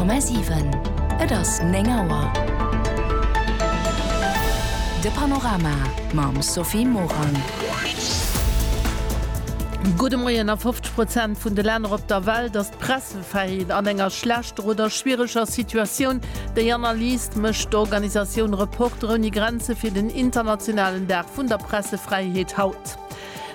100,7 Et ass 9 Auer. De Panorama mam Sophie Morang. Gudde Moien. A 50 Prozent vun de Länner op der Welt ass d'Pressefräiheet an enger schlechter oder schwiereger Situatioun. Déi Analys mécht d'Organisatioun Reporter ouni Grenze fir den internationalen Dag vun der Pressefräiheet haut.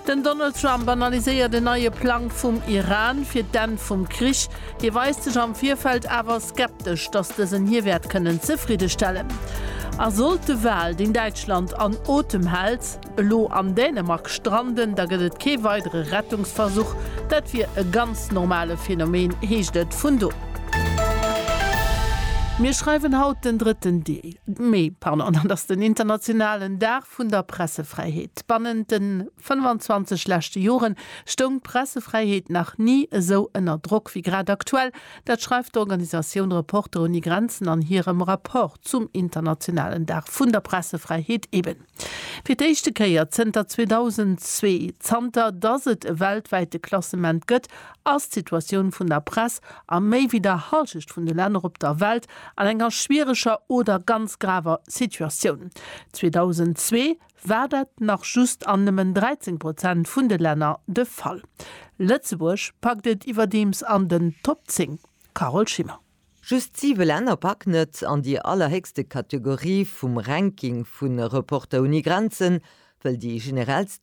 Den Donald Trump analyséiert en neie Plang vum Iran fir d'Enn vum Krich. Hie weist sech am Virfeld awer skeptesch, datt dësen hie wäert kënnen zefriddestellen. A sollt de Wal, deen Däitschland an Otem hält, elo an Dänemark stranden, da gëtt et kee weidere Rettungsversuch. Dat wier e ganz normale Phänomen, heescht et vun do. Mir schreiwen haut den drëtten Mee, pardon, dat ass den internationalen Dag vun der Pressefräiheet. Bannent de 25 leschte Jore stoung d'Pressefräiheet nach ni esou ënner Drock wéi grad aktuell. Dat schreift d'Organisatioun Reporter ouni Grenzen an hirem Rapport zum internationalen Dag vun der Pressefräiheet eben. Fir d'éischte Kéier zënter 2002, zanter datt et e weltwäite Klassement gëtt, ass d'Situatioun vun der Press a méi wéi der Hallschecht vun de Länner op der Welt an enger schwiereger oder ganz graver Situatioun. 2002 war dat nach just an nëmmen 13 Prozent vun de Länner de Fall. Lëtzebuerg packt et iwwerdeems an den Top 10. Carole Schimmer. Just siwe Länner packen et an déi allerhéchste Kategorie vum Ranking vu Reporter ouni Grenzen, wëll déi generellst.